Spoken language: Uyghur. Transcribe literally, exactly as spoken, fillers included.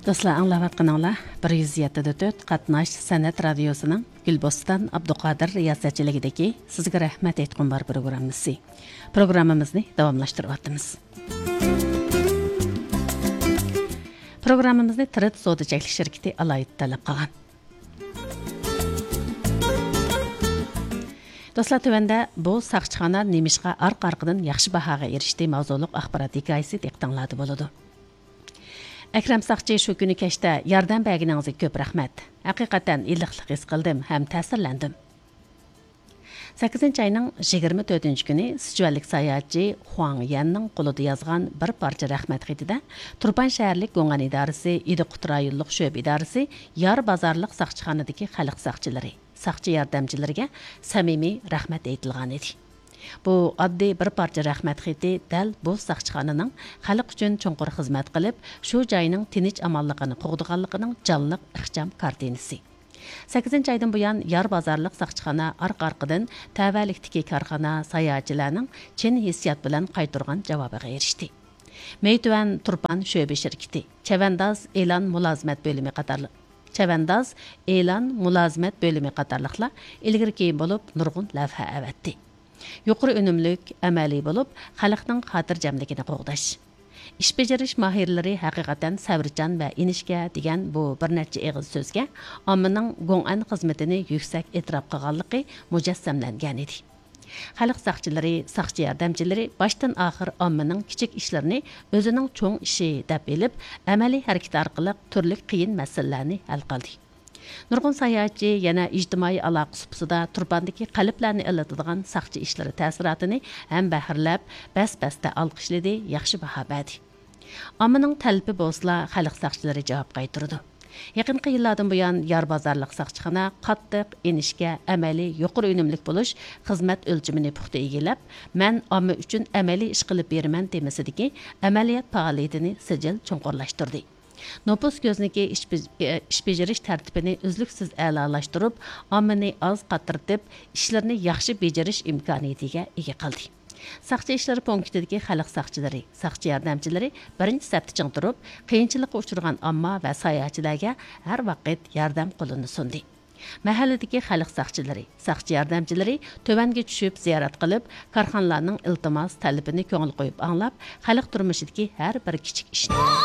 دوستلار، ئاڭلاۋاتقىنىڭلار بىر يۈز يەتتە دە تۆت قاتناش سەنئەت رادىيوسىنىڭ گۈلبوستان ئابدۇقادىر رىياسەتچىلىكىدىكى سىزگە رەھمەت ئېيتقۇم بار پروگراممىسى. پروگراممىمىزنى داۋاملاشتۇرۇۋاتىمىز. پروگراممىمىزنى تىرىت سودا چەكلىك شىركىتى ئالاھىدە تەلەپ قىلغان. دوستلار، تۆۋەندە بۇ ساقچىخانا نېمىشقا ئارقا-ئارقىدىن ياخشى باھاغا ئېرىشتى ماۋزۇلۇق ئاخبارات ھېكايىسى دىققىتىڭلاردا بولىدۇ. ئەكرەم ساقچى شۇ كۈنى كەچتە ياردەم بەرگىنىڭىزگە كۆپ رەھمەت. ھەقىقەتەن ئىللىقلىق ھېس قىلدىم ھەم تەسىرلەندىم. سەككىزىنچى ئاينىڭ يىگىرمە تۆتىنچى كۈنى سىچۈەنلىك ساياھەتچى خۇاڭ يەننىڭ قولىدا يازغان بىر پارچە رەھمەت خېتىدە تۇرپان شەھەرلىك گوڭئەن ئىدارىسى، ئىدىقۇت رايونلۇق شۆبە ئىدارىسى، يار بازارلىق ساقچىخانىدىكى خەلق ساقچىلىرى، ساقچى ياردەمچىلىرىگە سەمىمىي رەھمەت ئېيتىلغانىدى. بۇ ئاددىي بىر پارچە رەھمەت خېتى دەل بۇ ساقچىخانىنىڭ خەلق ئۈچۈن چوڭقۇر خىزمەت قىلىپ، شۇ جاينىڭ تىنچ-ئامانلىقىنى قوغدىغانلىقىنىڭ جانلىق ئىخچام كارتىنىسى. سەككىزىنچى ئايدىن بۇيان يار بازارلىق ساقچىخانا ئارقا-ئارقىدىن تەۋەلىكتىكى كارخانا، ساياھەتچىلەرنىڭ چىن ھېسسىيات بىلەن قايتۇرغان جاۋابىغا ئېرىشتى. مەيتۈەن تۇرپان شۆبە شىركىتى، چەۋەنداز ئېلان مۇلازىمەت بۆلۈمى قاتارلىق، چەۋەنداز ئېلان مۇلازىمەت بۆلۈمى قاتارلىقلار ئىلگىرى كېيىن بولۇپ نۇرغۇن لەۋھە ئەۋەتتى. يۇقىرى ئۈنۈملۈك، ئەمەلىي بولۇپ، خەلقنىڭ خاتىرجەملىكىنى قوغداش. ئىش بېجىرىش ماھىرلىرى ھەقىقەتەن سەۋرچان ۋە ئىنچىكە دېگەن بۇ بىر نەچچە ئېغىز سۆزگە ئاممىنىڭ گوڭئەن خىزمىتىنى يۈكسەك ئېتىراپ قىلغانلىقى مۇجەسسەملەنگەنىدى. خەلق ساقچىلىرى، ساقچى ياردەمچىلىرى باشتىن ئاخىر ئاممىنىڭ كىچىك ئىشلىرىنى ئۆزىنىڭ چوڭ ئىشى دەپ ئېلىپ، ئەمەلىي ھەرىكىتى ئارقىلىق تۈرلۈك قىيىن مەسىلىلەرنى ھەل قىلدى. نۇرغۇن ساياھەتچى يەنە ئىجتىمائىي ئالاقە سۇپىسىدا تۇرپاندىكى قەلبلەرنى ئىللىتىدىغان ساقچى ئىشلىرى تەسىراتىنى ھەمبەھىرلەپ، بەس-بەستە ئالقىشلىدى، ياخشى باھا بەردى. ئاممىنىڭ تەلىپى بولسىلا، خەلق ساقچىلىرى جاۋاب قايتۇرىدۇ. يېقىنقى يىللاردىن بۇيان، يار بازارلىق ساقچىخانا قاتتىق، ئىنچىكە، ئەمەلىي، يۇقىرى ئۈنۈملۈك بولۇش خىزمەت ئۆلچىمىنى پۇختا ئىگىلەپ، مەن ئامما ئۈچۈن ئەمەلىي ئىش قىلىپ بېرىمەن تېمىسىدىكى ئەمەلىيەت پائالىيىتىنى سىجىل چوڭقۇرلاشتۇردى. نوپۇس كۆزنىكى ئىش بېج-، ئىش بېجىرىش تەرتىپىنى ئۈزلۈكسىز ئەلالاشتۇرۇپ، ئاممىنى ئاز قاتتىرتىپ، ئىشلىرىنى ياخشى بېجىرىش ئىمكانىيىتىگە ئىگە قىلدى. ساقچى ئىشلىرى پونكىتىدىكى خەلق ساقچىلىرى، ساقچى ياردەمچىلىرى بىرىنچى سەپتە چىڭ تۇرۇپ، قىيىنچىلىققا ئۇچرىغان ئامما ۋە ساياھەتچىلەرگە ھەر ۋاقىت ياردەم قولىنى سۇندى. مەھەللىدىكى خەلق ساقچىلىرى، ساقچى ياردەمچىلىرى تۆۋەنگە چۈشۈپ زىيارەت قىلىپ، كارخانىلارنىڭ ئىلتىماس، تەلىپىنى كۆڭۈل قويۇپ ئاڭلاپ، خەلق تۇرمۇشىدىكى ھەر بىر كىچىك ئىشنى